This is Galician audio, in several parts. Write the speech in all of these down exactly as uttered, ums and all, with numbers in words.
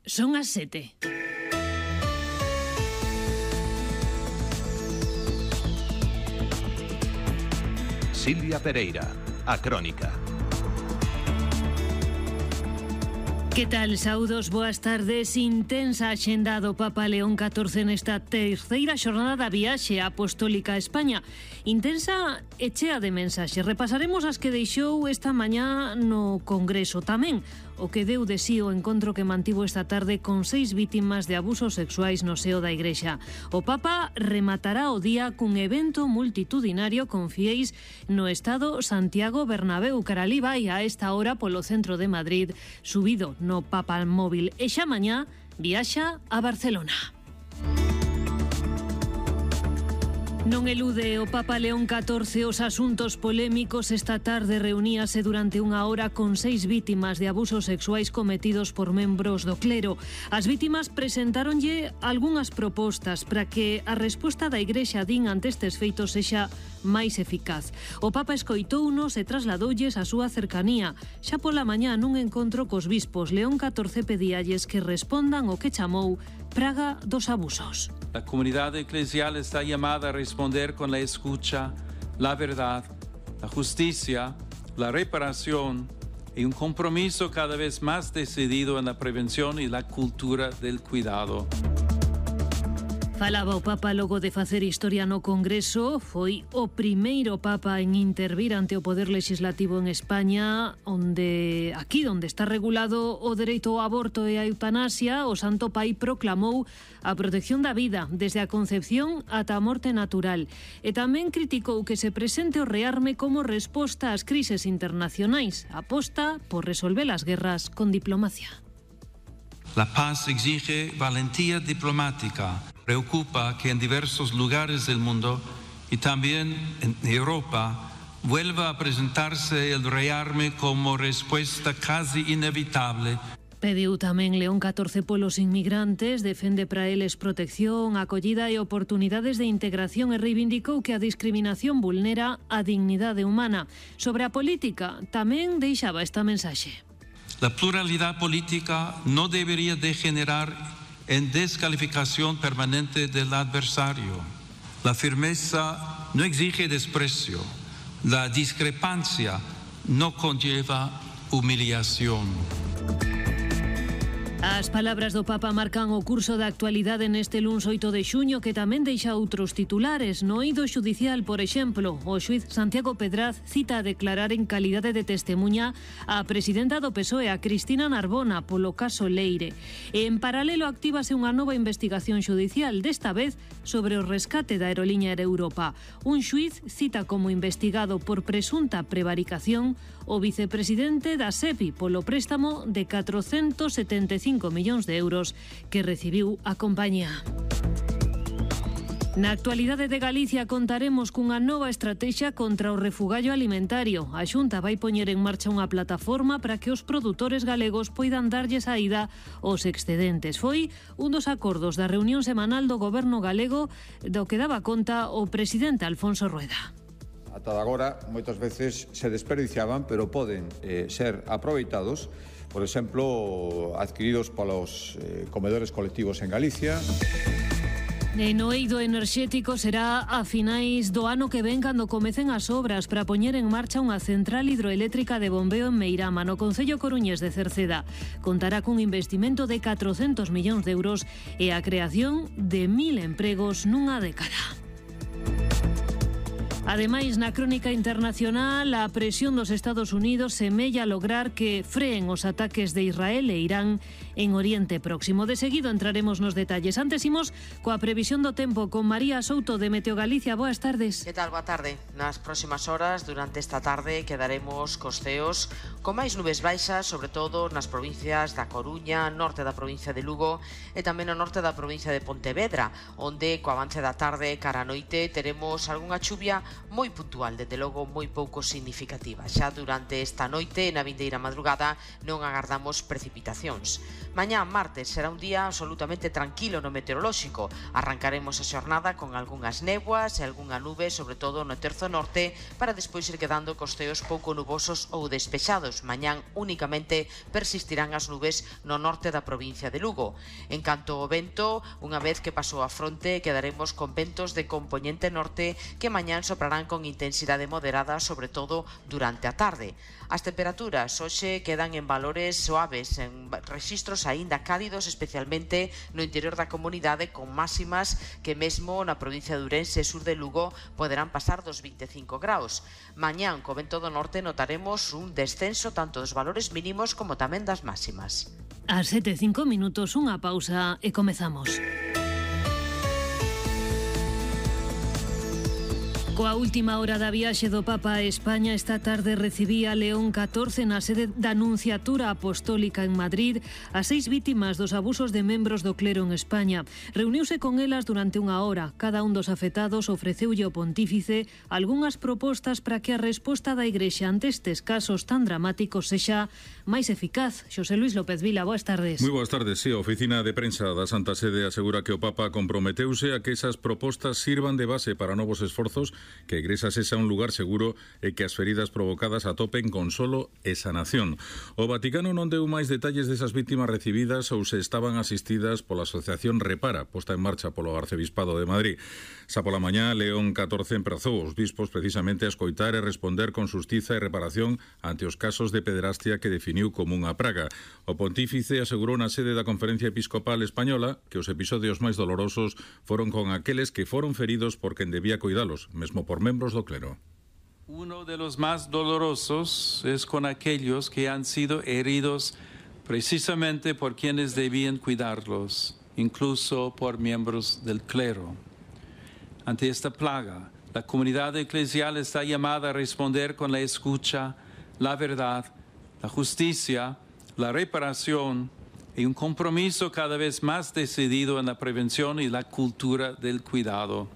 Son as sete. Silvia Pereira, a Crónica. Que tal, saudos, boas tardes. Intensa axenda do Papa León catorce nesta terceira xornada da viaxe apostólica a España. Intensa e chea de mensaxes. Repasaremos as que deixou esta mañá no Congreso. Tamén o que deu de sí o encontro que mantivo esta tarde con seis vítimas de abusos sexuais no seo da Igrexa. O Papa rematará o día cun evento multitudinario con fieis no estado Santiago Bernabéu. Caralí vai a esta hora polo centro de Madrid, subido no Papa Móvil, e xa mañá viaxa a Barcelona. Non elude o Papa León catorce os asuntos polémicos. Esta tarde reuníase durante unha hora con seis vítimas de abusos sexuais cometidos por membros do clero. As vítimas presentáronlle algunhas propostas para que a resposta da Igrexa, din, ante estes feitos sexa máis eficaz. O Papa escoitounos e trasladoulles a súa cercanía. Xa pola mañá nun encontro cos bispos, León catorce pedíalles que respondan o que chamou praga dos abusos. La comunidad eclesial está llamada a responder con la escucha, la verdad, la justicia, la reparación y un compromiso cada vez más decidido en la prevención y la cultura del cuidado. Falaba o Papa logo de facer historia no Congreso. Foi o primeiro Papa en intervir ante o Poder Legislativo en España, onde aquí onde está regulado o dereito ao aborto e a eutanasia, o Santo Pai proclamou a protección da vida desde a concepción ata a morte natural. E tamén criticou que se presente o rearme como resposta ás crises internacionais. Aposta por resolver as guerras con diplomacia. La paz exige valentía diplomática. Preocupa que en diversos lugares del mundo y también en Europa vuelva a presentarse el rearme como respuesta casi inevitable. Pediu tamén León catorce polos inmigrantes, defende para eles protección, acollida e oportunidades de integración e reivindicou que a discriminación vulnera a dignidade humana. Sobre a política, tamén deixaba esta mensaxe. La pluralidad política no debería degenerar en descalificación permanente del adversario. La firmeza no exige desprecio. La discrepancia no conlleva humillación. As palabras do Papa marcan o curso da actualidade neste luns oito de xuño, que tamén deixa outros titulares. No eido xudicial, por exemplo, o xuíz Santiago Pedraz cita a declarar en calidade de testemuña a presidenta do P S O E, a Cristina Narbona, polo caso Leire. E en paralelo actívase unha nova investigación xudicial, desta vez sobre o rescate da aeroliña Air Europa. Un xuíz cita como investigado por presunta prevaricación o vicepresidente da SEPI polo préstamo de catrocentos setenta e cinco millóns de euros que recibiu a compañía. Na actualidade de Galicia contaremos cunha nova estratexia contra o refugallo alimentario. A Xunta vai poñer en marcha unha plataforma para que os produtores galegos poidan darlle saída aos excedentes. Foi un dos acordos da reunión semanal do Goberno galego do que daba conta o presidente Alfonso Rueda. Ata agora, moitas veces se desperdiciaban, pero poden eh, ser aproveitados, por exemplo, adquiridos polos eh, comedores colectivos en Galicia. E no eido enerxético será a finais do ano que ven cando comecen as obras para poñer en marcha unha central hidroeléctrica de bombeo en Meirama, no concello coruñés de Cerceda. Contará cun investimento de catrocentos millóns de euros e a creación de mil empregos nunha década. Ademais, na crónica internacional, a presión dos Estados Unidos semella lograr que freen os ataques de Israel e Irán en Oriente Próximo. De seguido entraremos nos detalles. Antes imos coa previsión do tempo con María Souto de Meteo Galicia. Boas tardes. Que tal? Boa tarde. Nas próximas horas, durante esta tarde, quedaremos cos ceos con máis nubes baixas, sobre todo nas provincias da Coruña, norte da provincia de Lugo e tamén no norte da provincia de Pontevedra, onde co avance da tarde cara a noite teremos algunha chuvia moi puntual, desde logo moi pouco significativa. Xa durante esta noite e na vindeira madrugada non agardamos precipitacións. Mañá, martes, será un día absolutamente tranquilo no meteorolóxico. Arrancaremos a xornada con algunhas néboas e algunha nube, sobre todo no terzo norte, para despois ir quedando costeos pouco nubosos ou despexados. Mañán únicamente persistirán as nubes no norte da provincia de Lugo. En canto ao vento, unha vez que pasou a fronte, quedaremos con ventos de compoñente norte que mañán soprarán con intensidade moderada, sobre todo durante a tarde. As temperaturas hoxe quedan en valores suaves, en rexistros aínda cálidos, especialmente no interior da comunidade, con máximas que mesmo na provincia de Ourense e sur de Lugo poderán pasar dos vinte e cinco graus. Mañán, co vento do norte, notaremos un descenso tanto dos valores mínimos como tamén das máximas. As sete e cinco minutos, unha pausa e comezamos. Coa última hora da viaxe do Papa a España, esta tarde recibía León catorce na sede da Nunciatura Apostólica en Madrid as seis vítimas dos abusos de membros do clero en España. Reuniuse con elas durante unha hora. Cada un dos afectados ofreceulle ao pontífice algunhas propostas para que a resposta da Igrexa ante estes casos tan dramáticos sexa máis eficaz. Xosé Luis López Vila, boas tardes. Moi boas tardes. Sí, a Oficina de Prensa da Santa Sede asegura que o Papa comprometeuse a que esas propostas sirvan de base para novos esforzos, que a Igrexa sexa un lugar seguro e que as feridas provocadas atopen consolo e sanación. O Vaticano non deu máis detalles desas vítimas recibidas ou se estaban asistidas pola Asociación Repara, posta en marcha polo Arcebispado de Madrid. Xa pola mañá, León catorce emprazou os bispos precisamente a escoitar e responder con xustiza e reparación ante os casos de pederastia que definiu como unha praga. O pontífice asegurou na sede da Conferencia Episcopal Española que os episodios máis dolorosos foron con aqueles que foron feridos por quen debía cuidalos, mesmo por membros do clero. Uno de los más dolorosos es con aquellos que han sido heridos precisamente por quienes debían cuidarlos, incluso por miembros del clero. Ante esta plaga, la comunidad eclesial está llamada a responder con la escucha, la verdad, la justicia, la reparación y un compromiso cada vez más decidido en la prevención y la cultura del cuidado.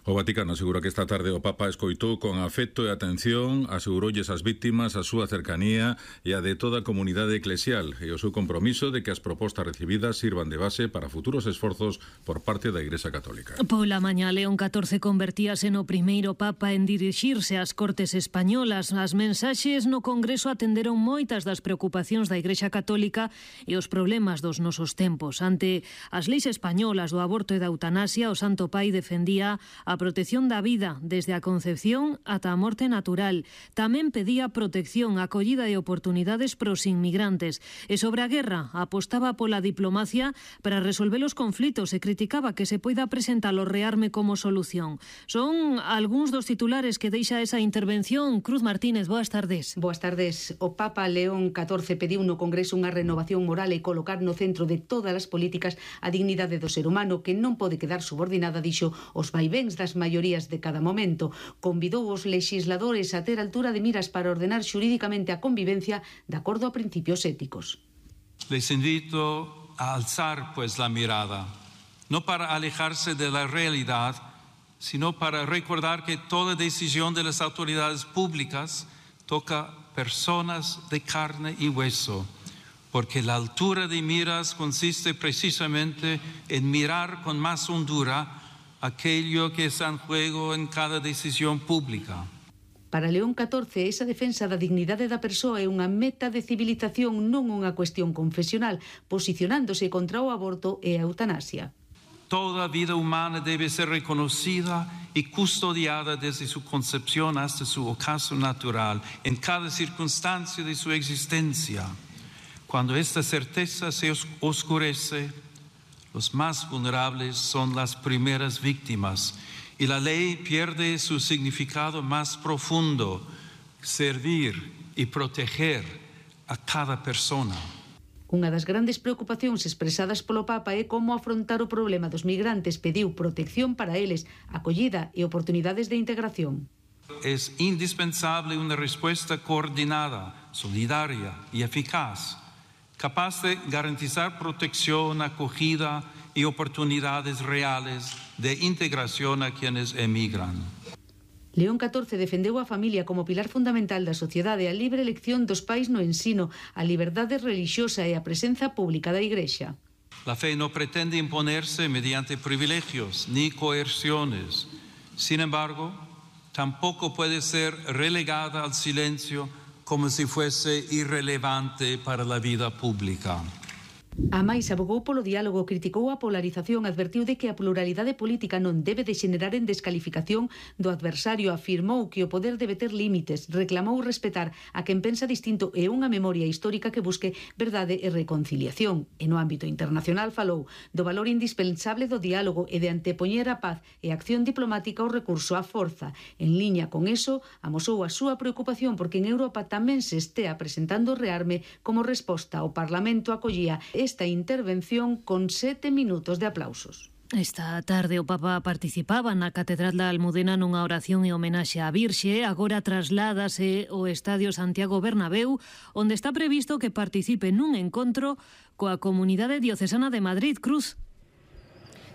O Vaticano asegura que esta tarde o Papa escoitou con afecto e atención, aseguroulles as vítimas a súa cercanía e a de toda a comunidade eclesial e o seu compromiso de que as propostas recibidas sirvan de base para futuros esforzos por parte da Igrexa Católica. Pola mañá, León catorce convertíase no primeiro Papa en dirixirse ás Cortes Españolas. As mensaxes no Congreso atenderon moitas das preocupacións da Igrexa Católica e os problemas dos nosos tempos. Ante as leis españolas do aborto e da eutanasia, o Santo Pai defendía a protección da vida desde a concepción ata a morte natural. Tamén pedía protección, acollida e oportunidades pros inmigrantes. E sobre a guerra, apostaba pola diplomacia para resolver os conflitos e criticaba que se poida presentar o rearme como solución. Son algúns dos titulares que deixa esa intervención. Cruz Martínez, boas tardes. Boas tardes. O Papa León catorce pediu no Congreso unha renovación moral e colocar no centro de todas as políticas a dignidade do ser humano, que non pode quedar subordinada, dixo, os vaivéns das maiorías de cada momento. Convidou os legisladores a ter altura de miras para ordenar xurídicamente a convivencia de acordo a principios éticos. Les invito a alzar pues la mirada, no para alejarse de la realidad, sino para recordar que toda decisión de las autoridades públicas toca personas de carne y hueso, porque la altura de miras consiste precisamente en mirar con más hondura aquello que está en juego en cada decisión pública. Para León catorce, esa defensa da dignidade da persoa é unha meta de civilización, non unha cuestión confesional, posicionándose contra o aborto e a eutanasia. Toda vida humana debe ser reconocida y custodiada desde su concepción hasta su ocaso natural, en cada circunstancia de su existencia. Cuando esta certeza se oscurece, los más vulnerables son las primeras víctimas y la ley pierde su significado más profundo, servir y proteger a cada persona. Unha das grandes preocupacións expresadas polo Papa é como afrontar o problema dos migrantes. Pediu protección para eles, acollida e oportunidades de integración. Es indispensable una respuesta coordinada, solidaria y eficaz, capaz de garantizar protección, acogida y oportunidades reales de integración a quienes emigran. León catorce defendeu a familia como pilar fundamental da sociedade, a libre elección dos pais no ensino, a liberdade relixiosa e a presenza pública da Igrexa. La fe no pretende imponerse mediante privilegios ni coerciones. Sin embargo, tampoco puede ser relegada al silencio como si fuese irrelevante para la vida pública. A máis abogou polo diálogo, criticou a polarización, advertiu de que a pluralidade política non debe de xenerar en descalificación do adversario, afirmou que o poder debe ter límites, reclamou respetar a quen pensa distinto e unha memoria histórica que busque verdade e reconciliación. E no ámbito internacional falou do valor indispensable do diálogo e de antepoñer a paz e a acción diplomática ao recurso á forza. En liña con eso, amosou a súa preocupación porque en Europa tamén se estea presentando o rearme como resposta ao Parlamento acollía esta intervención con sete minutos de aplausos. Esta tarde o Papa participaba na Catedral da Almudena nunha oración e homenaxe á Virxe. Agora trasládase ao Estadio Santiago Bernabéu, onde está previsto que participe nun encontro coa Comunidade Diocesana de Madrid. Cruz.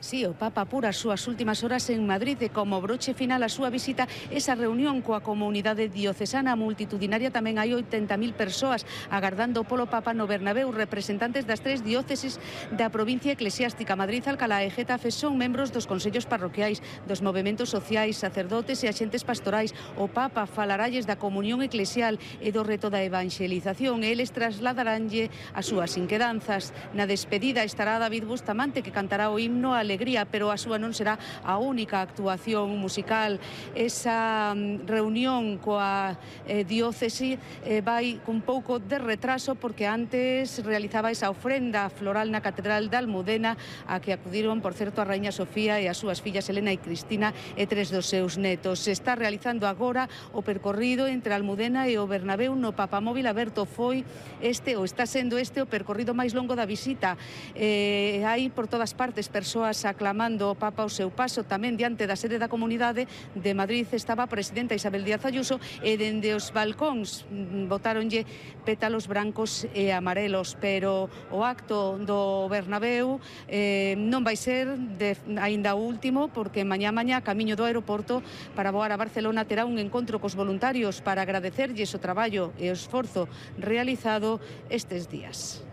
Sí, o Papa apura as súas últimas horas en Madrid e como broche final a súa visita esa reunión coa comunidade diocesana multitudinaria. Tamén hai oitenta mil persoas agardando polo Papa no Bernabéu. Representantes das tres dióceses da provincia eclesiástica, Madrid, Alcalá e Getafe, son membros dos consellos parroquiais, dos movementos sociais, sacerdotes e axentes pastorais. O Papa falaralles da comunión eclesial e do reto da evangelización. Eles trasladaránlle as súas inquedanzas. Na despedida estará David Bustamante, que cantará o himno a Alegría, pero a súa non será a única actuación musical. Esa reunión coa eh, diócese eh, vai cun pouco de retraso porque antes realizaba esa ofrenda floral na Catedral da Almudena, a que acudiron, por certo, a Raíña Sofía e as súas fillas Elena e Cristina e tres dos seus netos. Se está realizando agora o percorrido entre a Almudena e o Bernabéu no Papamóvil aberto. Foi este, ou está sendo este, o percorrido máis longo da visita. Eh, hai por todas partes persoas aclamando o Papa o seu paso. Tamén diante da sede da Comunidade de Madrid estaba a presidenta Isabel Díaz Ayuso e dende os balcóns botáronlle pétalos brancos e amarelos, pero o acto do Bernabéu eh, non vai ser de, aínda o último, porque mañá mañá camiño do aeroporto para voar a Barcelona terá un encontro cos voluntarios para agradecerlles o traballo e o esforzo realizado estes días.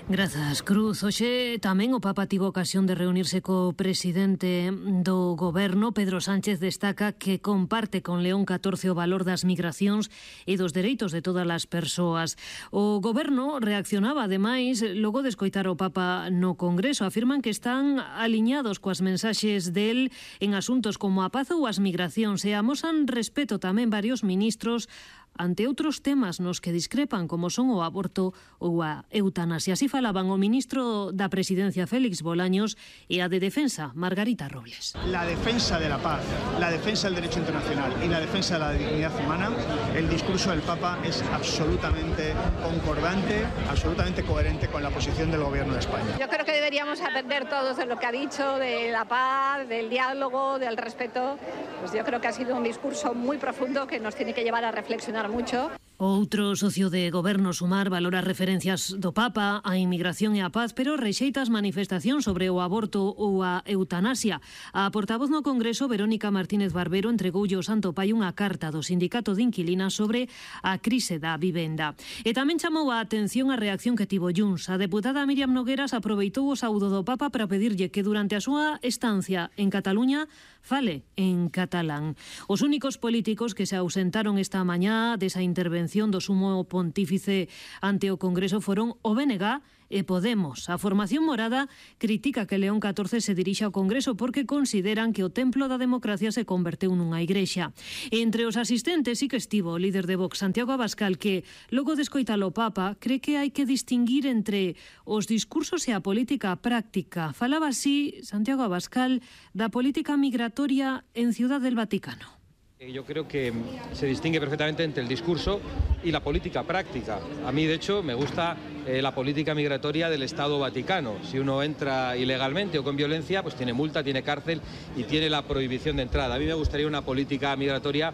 Grazas, Cruz. Hoxe tamén o Papa tivo ocasión de reunirse co presidente do goberno. Pedro Sánchez destaca que comparte con León catorce o valor das migracións e dos dereitos de todas as persoas. O goberno reaccionaba, ademais, logo de escoitar o Papa no Congreso. Afirman que están aliñados coas mensaxes del en asuntos como a paz ou as migracións e amosan respeto tamén varios ministros ante outros temas nos que discrepan, como son o aborto ou a eutanasia. Así falaban o ministro da Presidencia, Félix Bolaños, e a de Defensa, Margarita Robles. La defensa de la paz, la defensa del derecho internacional y la defensa de la dignidad humana, el discurso del Papa es absolutamente concordante, absolutamente coherente con la posición del Gobierno de España. Yo creo que deberíamos aprender todos de lo que ha dicho, de la paz, del diálogo, del respeto. Pues yo creo que ha sido un discurso muy profundo que nos tiene que llevar a reflexionar mucho. Outro socio de goberno, Sumar, valora referencias do Papa á inmigración e á paz, pero rexeita as manifestacións sobre o aborto ou a eutanasia. A portavoz no Congreso, Verónica Martínez Barbero, entregoulle ao Santo Pai unha carta do Sindicato de Inquilinas sobre a crise da vivenda. E tamén chamou a atención a reacción que tivo Junts. A deputada Míriam Nogueras aproveitou o saúdo do Papa para pedirlle que durante a súa estancia en Cataluña fale en catalán. Os únicos políticos que se ausentaron esta mañá desa intervención do sumo pontífice ante o Congreso foron o B N G e Podemos. A formación morada critica que León catorce se dirixa ao Congreso porque consideran que o templo da democracia se converteu nunha igrexa. Entre os asistentes sí que estivo o líder de Vox, Santiago Abascal, que logo de escoitar o Papa cree que hai que distinguir entre os discursos e a política práctica. Falaba así Santiago Abascal da política migratoria en Ciudad del Vaticano. Yo creo que se distingue perfectamente entre el discurso y la política práctica. A mí, de hecho, me gusta eh, la política migratoria del Estado Vaticano. Si uno entra ilegalmente o con violencia, pues tiene multa, tiene cárcel y tiene la prohibición de entrada. A mí me gustaría una política migratoria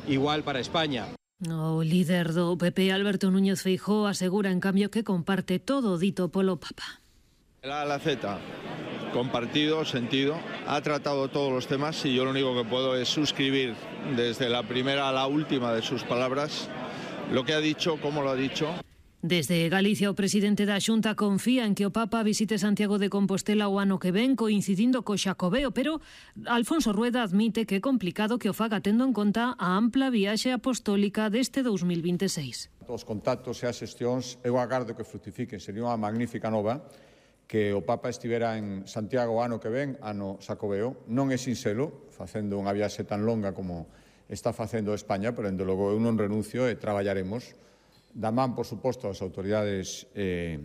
igual para España. O líder do P P, Alberto Núñez Feijóo, asegura, en cambio, que comparte todo o dito polo Papa. La, la Z. compartido, sentido. Ha tratado todos los temas y yo lo único que puedo es suscribir desde la primera a la última de sus palabras lo que ha dicho, cómo lo ha dicho. Desde Galicia, o presidente da Xunta confía en que o Papa visite Santiago de Compostela o ano que ven, coincidindo co Xacobeo, pero Alfonso Rueda admite que é complicado que o faga tendo en conta a ampla viaxe apostólica deste dous mil vinte e seis. Os contactos e as xestións, eu agardo que fructifiquen, sería unha magnífica nova que o Papa estivera en Santiago o ano que ven, ano Xacobeo. Non é sinxelo, facendo unha viaxe tan longa como está facendo España, pero, dende logo, eu non renuncio e traballaremos da man, por suposto, as autoridades eh,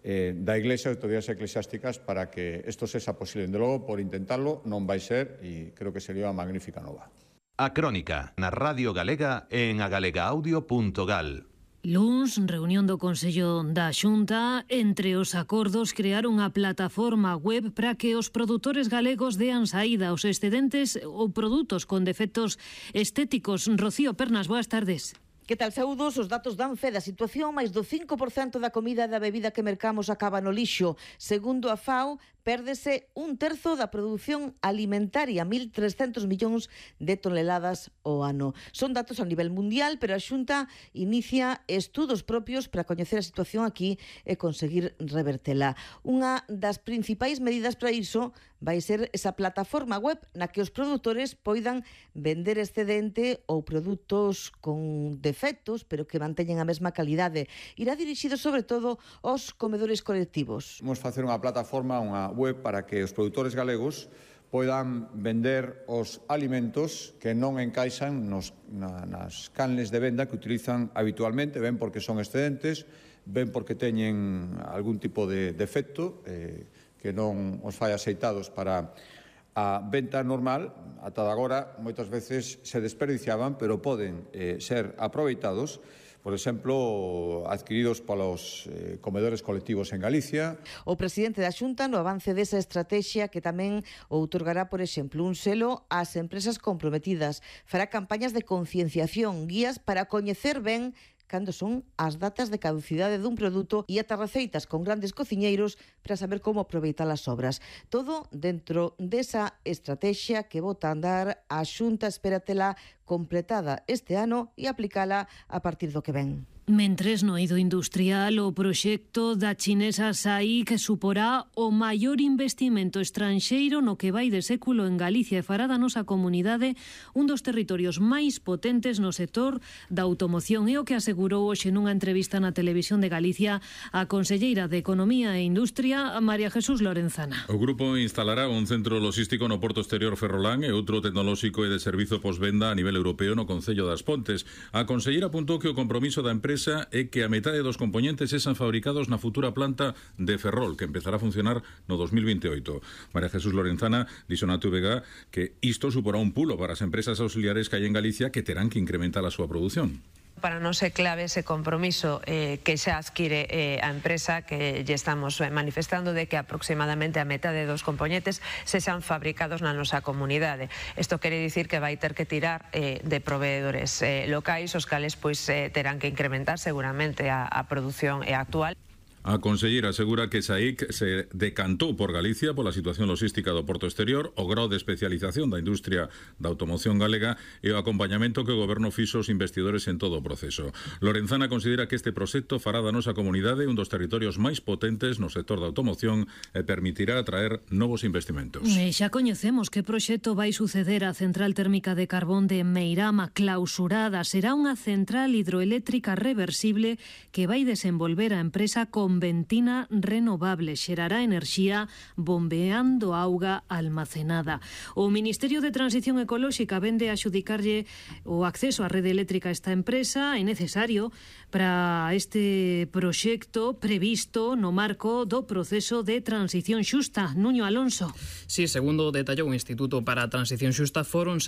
eh, da Iglesia, autoridades eclesiásticas, para que isto sexa posible. De logo, por intentarlo, non vai ser, e creo que sería unha magnífica nova. A Crónica, na Radio Galega e en agalegaaudio punto gal. Luns, reunión do Consello da Xunta, entre os acordos crear unha plataforma web para que os produtores galegos dean saída aos excedentes ou produtos con defectos estéticos. Rocío Pernas, boas tardes. Que tal, saúdos? Os datos dan fe da situación. Máis do cinco por cento da comida e da bebida que mercamos acaba no lixo. Segundo a FAO, pérdese un terzo da produción alimentaria, mil trescentos millóns de toneladas ao ano. Son datos a nivel mundial, pero a Xunta inicia estudos propios para coñecer a situación aquí e conseguir revertela. Unha das principais medidas para iso vai ser esa plataforma web na que os produtores poidan vender excedente ou produtos con defectos, pero que manteñen a mesma calidade. Irá dirixido sobre todo aos comedores colectivos. Vamos facer unha plataforma, unha web, para que os produtores galegos poidan vender os alimentos que non encaixan nos, na, nas canles de venda que utilizan habitualmente, ben porque son excedentes, ben porque teñen algún tipo de defecto eh, que non os fai aceitados para a venta normal. Ata agora moitas veces se desperdiciaban, pero poden eh, ser aproveitados, por exemplo, adquiridos polos eh, comedores colectivos en Galicia. O presidente da Xunta, no avance desa estrategia, que tamén outorgará, por exemplo, un selo ás empresas comprometidas. Fará campañas de concienciación, guías para coñecer ben cando son as datas de caducidade dun produto e ata receitas con grandes cociñeiros para saber como aproveitar as obras. Todo dentro desa estrategia que bota a andar a Xunta, espératela completada este ano e aplicala a partir do que ven. Mentres no eido industrial, o proxecto da chinesa S A I que suporá o maior investimento estranxeiro no que vai de século en Galicia e fará da nosa comunidade un dos territorios máis potentes no sector da automoción. É o que asegurou hoxe nunha entrevista na Televisión de Galicia a conselleira de Economía e Industria, María Jesús Lorenzana. O grupo instalará un centro logístico no Porto Exterior Ferrolán e outro tecnolóxico e de servizo posvenda a nivel europeo no Concello das Pontes. A conselleira apuntou que o compromiso da empresa é que a metade dos componentes sexan fabricados na futura planta de Ferrol, que empezará a funcionar no dos mil veintioito. María Jesús Lorenzana dixo na T V G que isto suporá un pulo para as empresas auxiliares que hai en Galicia que terán que incrementar a súa produción. Para nós é clave ese compromiso eh, que xa adquire eh, a empresa, que lle estamos manifestando de que aproximadamente a metade dos componentes sexan fabricados na nosa comunidade. Isto quere dicir que vai ter que tirar eh, de proveedores eh, locais, os cales pois eh, terán que incrementar seguramente a, a produción eh, actual. A conselleira asegura que S A I C se decantou por Galicia pola situación logística do Porto Exterior, o grau de especialización da industria da automoción galega e o acompañamento que o goberno fixo aos investidores en todo o proceso. Lorenzana considera que este proxecto fará da nosa comunidade un dos territorios máis potentes no sector da automoción e permitirá atraer novos investimentos. E xa coñecemos que proxecto vai suceder a central térmica de carbón de Meirama clausurada. Será unha central hidroeléctrica reversible que vai desenvolver a empresa con ventina renovable, xerará enerxía bombeando auga almacenada. O Ministerio de Transición Ecolóxica vende a xudicarlle o acceso á rede eléctrica a esta empresa. É necesario para este proxecto previsto no marco do proceso de transición xusta. Nuño Alonso. Sí, segundo detallou o Instituto para a Transición Xusta, foron